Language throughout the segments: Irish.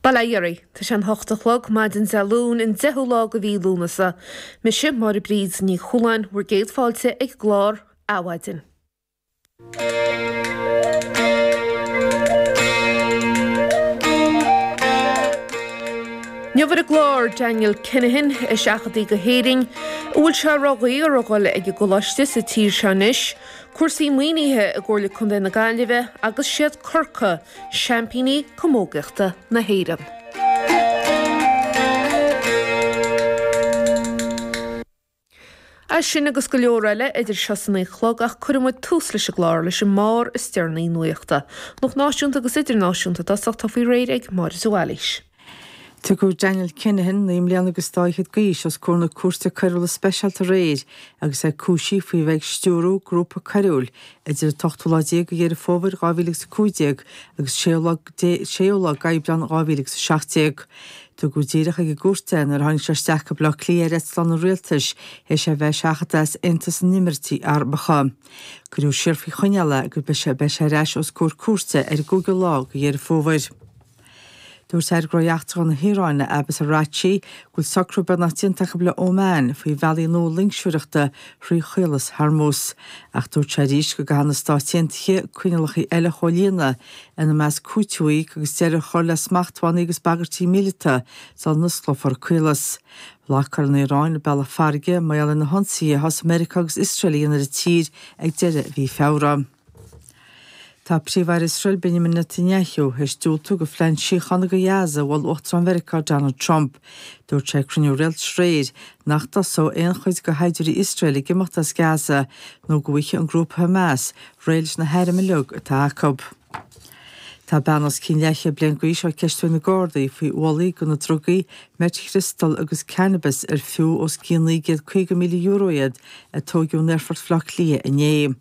Bail ó Dhia oraibh. Tá sé an hocht a chlog, maidin Dé Luain, an 10ú lá de mhí Lúnasa. Mise, Máire Bríd Ní Chualáin, bhur gcéad fáilte ag an gclár Adhmhaidin. Inniu ar an gclár, Daniel Kinahan, a seachadadh go hÉirinn, an bhfuil sé ródhaor a dhul ag an gcoláiste sa tír seo anois, cúrsaí maoinithe i gComhairle Contae na Gaillimhe agus siad Corcaigh seaimpíní camógaíochta na hÉireann. É sin agus go leor eile idir seo is a 9 a chlog ach cuirfidh muid tús leis an gclár leis an mbarr is deireanaí nuachta. Nuacht náisiúnta agus idirnáisiúnta i dtosach atá faoi réir ag Máire de Bhailís. Tugadh Daniel Kinahan, 19 mbliana agus dá fhichead d'aois, os comhair na Cúirte Coiriúla Speisialta aréir agus é cúisithe faoi bheith ag stiúrú grúpa coiriúil idir an t-ochtú lá déag de Dheireadh Fómhair 2015 agus séú lá séú lá d'Aibreán 2017. Tugadh díreach ag an gcúirt é nuair a tháinig sé isteach go Baile Átha Cliath ar eitleán an rialtais théis é bheith seachadta as Aontas na nÉimíríochtaí Arabacha. Cuireadh siar faoi choinneáil é agus beidh sé beidh sé ar ais os comhair cúirte ar an gcúigiú lá de Dheireadh Fómhair. Dúirt Aire Gnóthaí Eachtracha na hIaráine, Abbas Araghchi, go bhfuil socrú beagnach déanta acu le Oman faoi bhealaí nua loingseoireachta thrí Chaolas Hormuz. Ach dúirt sé arís go gcaithfidh na Stáit Aontaithe coinníollacha eile a chomhlíonadh, ina measc cúiteamh a íoc agus deireadh a chur le smachtbhannaí agus bagairtí míleata sula n-osclófar an caolas. Bhlocáil an Iaráin an bealach farraige mar gheall ar na hionsaithe a thosaigh Meiriceá agus Iosrael a dhéanamh ar an tír ag deireadh mhí Feabhra. Tá Príomh-Aire Iosrael Benjamin Netanyahu théis diúltú do phlean síochána do Ghaza a mhol Uachtarán Mheiriceá Donald Trump. Dúirt sé ag cruinniú rialtais aréir nach dtosóidh aon chuid de shaighdiúirí Iosrael ag imeacht as Gaza nó go bhfaighidh an grúpa Hamas réidh leis na hairm uilig atá acu. Tá bean os cionn leathchéad bliain d'aois á ceistiú ag na Gardaí faoi ualaí de na drugaí meitchriostal agus cannabis ar fiú os cionn €950,000 iad a tóigeadh in Aerfort Bhaile Átha Cliath inné.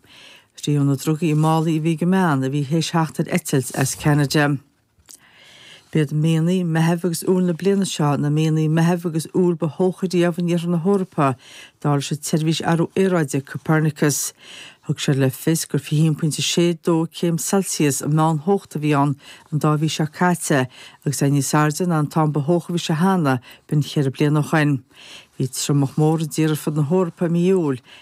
Ritheadh na drugaí i málaí a bhí ag an mbean a bhí théis theacht ar eitilt as Ceanada. B'iad míonna Meithimh agus Iúil na bliana seo na míonna Meithimh agus Iúil ba theocha riamh in iarthar na hEorpa, dar leis an tseirbhís athrú aeráide Copernicus. Thug sé le fios gur 21.62 céim Celsius an meán-theocht a bhí ann an dá mhí seo caite agus é níos airde ná an t-am ba theocha a bhí sé cheana, b'in cheithre bliana ó shin. Bhí triomach mór i dtír ar fud na hEorpa i mí Iúil.